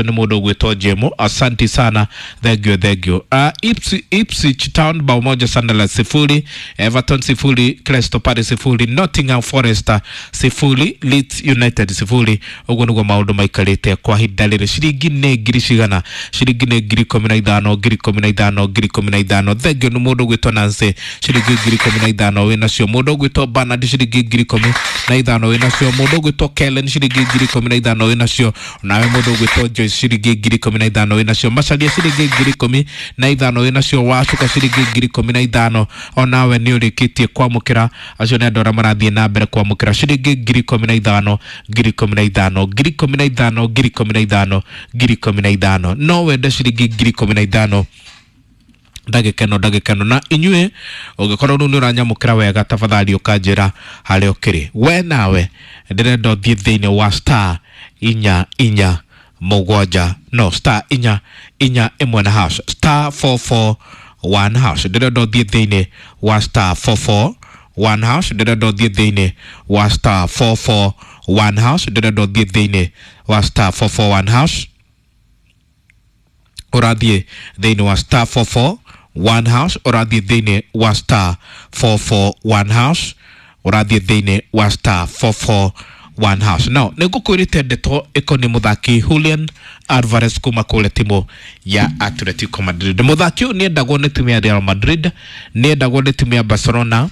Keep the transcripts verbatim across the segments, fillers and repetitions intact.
Nĩ mũndũ ũgwĩtwo Jemo, asanti sana, thank you, thank you. uh, Ipswich, Ipswich Town bao moja Sunderland sifuri, Everton sifuri, Crystal Palace sifuri, Nottingham Forest sifuri, Leeds United sifuri. Ũguo nĩguo maũndũ maikarĩte kwa ihinda rĩrĩ. Ciringi nĩ ngiri cigana? Ciringi nĩ ngiri ikũmi na ithano, ngiri ikũmi na ithano, ngiri ikũmi na ithano. Thank you. Nĩ mũndũ ũgwĩtwo Nancy, ciringi ngiri ikũmi na ithano wĩ nacio. Mũndũ ũgwĩtwo Bernard, ciringi ngiri ikũmi na ithano wĩ nacio. Mũndũ ũgwĩtwo Kellen, ciringi ngiri ikũmi na ithano wĩ nacio. Nawe mũndũ ũgwĩtwo Joyce, ciringi ngiri ikũmi na ithano wĩ nacio. Macaria, ciringi ngiri ikũmi na ithano wĩ nacio. Wacuka, ciringi ngiri ikũmi na ithano onawe nĩ ũrĩkĩtie kwamũkĩra. Acio nĩ andũ arĩa marathiĩ na mbere kwamũkĩra ciringi ngiri ikũmi na ithano, ngiri ikũmi na ithano, ngiri ikũmi na ithano, ngiri ikũmi na ithano, ngiri ikũmi na ithano. No wende ciringi ngiri ikũmi na ithano ndagĩka ĩno, ndagĩka ĩno. Na inyuĩ ũngĩkorwo rĩu nĩ ũranyamũkĩra wega, tafadhali ũkanjĩra harĩa ũkĩrĩ. We nawe ndĩrenda ũthiĩ thĩinĩ wa star inya inya mũgwanja, no star inya inya ĩmwe na hash, star four four one hash. Ndĩrenda ũthiĩ thĩinĩ wa star four four one hash. Ndĩrenda ũthiĩ thĩinĩ wa star four four one hash. Ndĩrenda ũthiĩ thĩinĩ wa star four four one hash. Ũrathiĩ thĩinĩ wa star four four one hash. Ũrathiĩ thĩinĩ wa star four four one hash. Ũrathiĩ thĩinĩ wa star four four one hash. Now nĩ ngũkwĩrĩte ndeto ĩkoniĩ mũthaki Julian Alvarez kuma kũrĩa timu ya Atletico Madrid. Mũthaki ũyũ nĩendagwo nĩ timu ya Real Madrid, nĩendagwo nĩ timu ya Barcelona,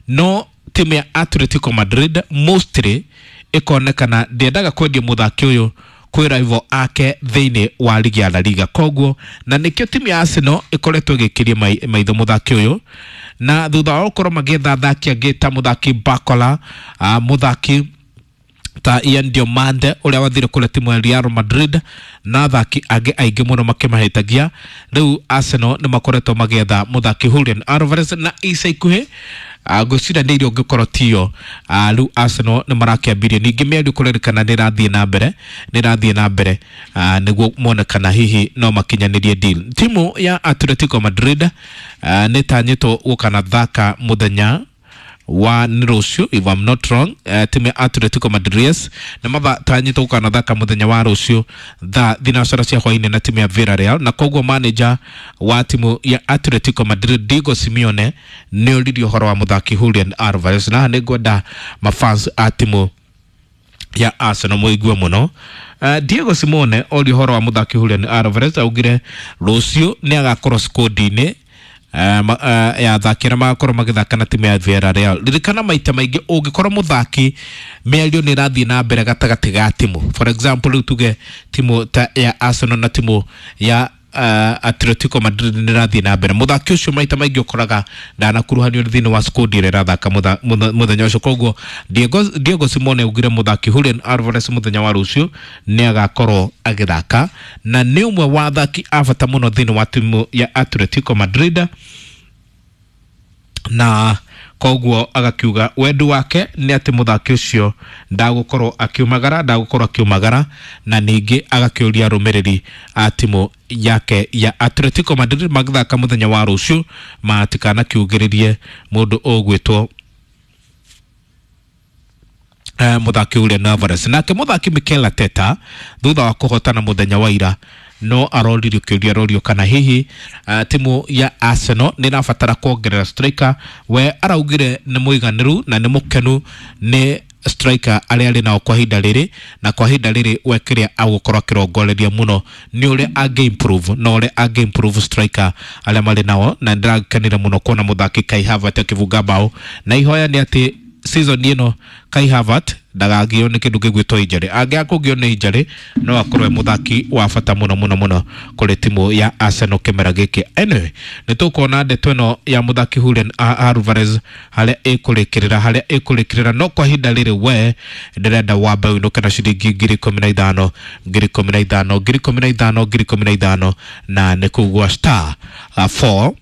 no timu ya Atletico Madrid mostly ĩkonekana ndĩendaga kwendia mũthaki ũyũ kwĩ rival ake thĩinĩ wa ligi ya La Liga. Koguo na nĩkĩo timu ya Arsenal ĩkoretwo ĩgĩkĩria maitho mũthaki ũyũ, na thutha wa gũkorwo magĩetha athaki angĩ ta mũthaki Barcola, uh, mũthaki ta Ian Diomande ũrĩa wathire kũrĩa timu ya Real Madrid na athaki angĩ aingĩ mũno makĩmahĩtagia, rĩu Arsenal nĩ makoretwo magĩetha mũthaki Julian Alvarez na ica ikuhĩ ngwĩciria nĩ irio ũngĩkorwo tiyo. Rĩu Arsenal nĩ marakĩambirie ningĩ mĩario, kũrerĩkana nĩ ĩrathiĩ na mbere, nĩ ĩrathiĩ na mbere nĩguo mone kana hihi no makinyanĩrie deal. Timu ya Atletico Madrid nĩ tanyĩtwo gũkanathaka mũthenya wa nĩ rũciũ, if I'm not wrong. uh, timu ya Atletico Madrid nĩ matanyĩtwo gũkanathaka mũthenya wa rũciũ thaa thinacara cia hwainĩ na timu ya Villarreal, na koguo manager wa timu ya Atletico Madrid Diego Simeone nĩ oririe ũhoro wa mũthaki Julian Alvarez. Na nĩ ngwenda mafans a timu ya Arsenal mũigue mũno. Uh, Diego Simeone orio ũhoro wa mũthaki Julian Alvarez, augire rũciũ nĩ agakorwo squad-inĩ Uh, uh, ya athaki arĩa magakorwo magĩthaka na timu ya Villarreal. Ririkana maita maingĩ ũngĩkorwo mũthaki mĩario nĩ ĩrathiĩ na mbere gatagatĩ ga timu, for example rĩu tuge timu ta ya Arsenal na timu ya uh, Atletico Madrid nĩ ĩrathiĩ na mbere, mũthaki ũcio maita maingĩ ũkoraga ndanakuruhanio thĩinĩ wa squad ĩrĩa ĩrathaka mũthenya ũcio. Koguo Diego, Diego Simeone augire mũthaki Julian Alvarez mũthenya wa rũciũ nĩ agakorwo agĩthaka na nĩ ũmwe wa athaki a bata mũno thĩinĩ wa timu ya Atletico Madrid, na koguo agakiuga wendi wake nĩ atĩ mũthaki ũcio ndagũkorwo akiumagara, ndagũkorwo akiumagara. Na ningĩ agakĩũria arũmĩrĩri a timu yake ya Atletico Madrid magĩthaka mũthenya wa rũciũ matikanakiugĩrĩrie mũndũ ũgwĩtwo uh, mũthaki Julian Alvarez. Nake mũthaki Mikel Arteta thutha wa kũhotana mũthenya wa ira no aroririo kĩũria, arorio kana hihi uh, timu ya Arsenal nĩ ĩrabatara kuongerera striker. We araugire nĩ mũiganĩru na nĩ mũkenu nĩ striker arĩa arĩ nao kwa ihinda rĩrĩ, na kwa ihinda rĩrĩ we kĩrĩa agũkorwo akĩrongoreria mũno nĩ ũrĩa angĩ improve na ũrĩa angĩ improve striker arĩa marĩ nao. Na ndĩrakenire mũno kuona mũthaki Kai Havertz akĩbunga bao, na ihoya nĩ atĩ season ĩno Kai Havertz ndagagio nĩ kĩndũ gĩgwĩtwo injury. Angĩaga kũgio nĩ injury, no akorwo e mũthaki wa bata mũno mũno mũno kũrĩ timu ya Arsenal kĩmera gĩkĩ. Anyway, nĩ tũkuona ndeto ĩno ya mũthaki Julian Alvarez harĩa ĩkũrĩkĩrĩra, harĩa ĩkũrĩkĩrĩra, no kwa ihinda rĩrĩ we ndĩrenda wambe ũinũke na ciringi ngiri ikũmi na ithano, ngiri ikũmi na ithano, ngiri ikũmi na ithano, ngiri ikũmi na ithano, na nĩ kũgua star uh, four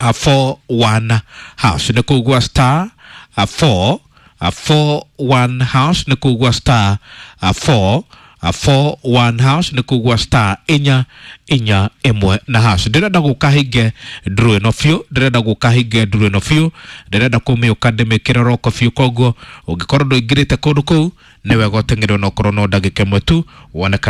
uh, four one hash, nĩ kũgua star uh, four uh, four one hash, nĩ kũgua star uh, four four one hash, nĩ kugua star inya inya ĩmwe na hash. Ndĩrenda gũka hinge nduru ĩno biũ, ndĩrenda gũka hinge nduru ĩno biũ, ndĩrenda kũmĩũka ndĩmĩkĩre roko biũ. Koguo ũngĩkorwo ndũingĩrĩte kũndũ kũu, nĩ wega ũteng'ere onokorwo no ndagĩka ĩmwe tu wone kana